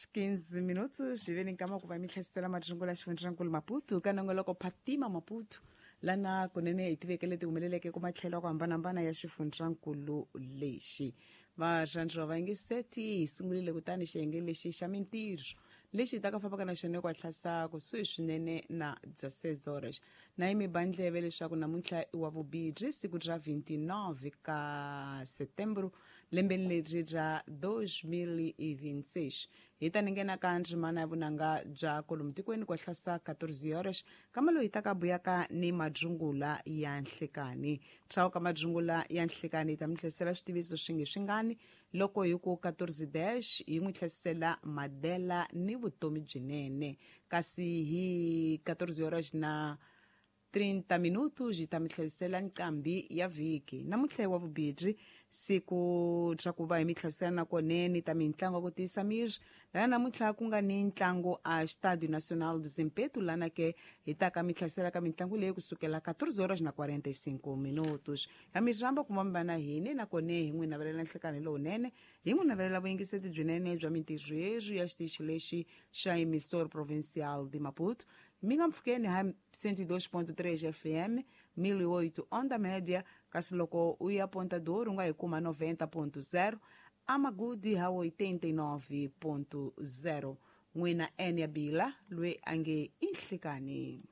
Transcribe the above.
15 minutos hi ve ni nkama ku va mi hlasela matlungula xifundzankulu Maputo ka nongoloko Phatima Maputo lana kunene hi tiveke leti humeleleke ku matlhelo ya ku hambanahambana ya xifundzankulu lexi. Varhandzi va vayingiseti, hi sungurile kutani xiyenge lexi xa mintirho lexi hi taka fambaka na xona ku hatlasa kusuhi swinene na 16 horas. Na yi mi ba ndleve leswaku namuntlha i wa vubirhi, siku ra 29 ka Setembro lembeni leri ra 2026. Hi ta ni nghena ka ndzimana ya vunanga bya kolomu tikweni ku hatlasa 14 horas, kama loyi ta ka buyaka ni madzungula ya nhlekani. Tshau ka madzungula ya nhlekani hi ta mi hlasela switiviso swi nge swingani loko hi ku 14 dash hi n'wi hlasela Madela ni vutomi byinene, kasi hi 14 horas na 30 minutos hi ta mi hlasela nqambi ya vhiki. Namuntlha hi wa vubirhi, siku ra ku va hi mi hlasela na kone ni ta mintlangu ya ku tiyisa miri, lana namuntlha ku nga ni ntlangu a Estádio Nacional de Zimpeto, lana ke hi ta ka mi hlasela ka mitlangu leyi kusukela 14 horas na 45 minutos. Ya mi rhamba ku va mi va na hina, nakone hi n'wi navelela nhlekani lowunene, hi n'wi navelela vuyingiseti byinene bya mintirho yerhu ya xitichi lexi xa Emissor Provincial de Maputo. Mi nga mpfhukeni ha 102.3 FM, 1008 onda média, kasi loko u ya Ponta do Ouro u nga hi kuma 90.0, Amagudi ha 89.0. N'wina Enia Bila loyi a nge i nhlikani.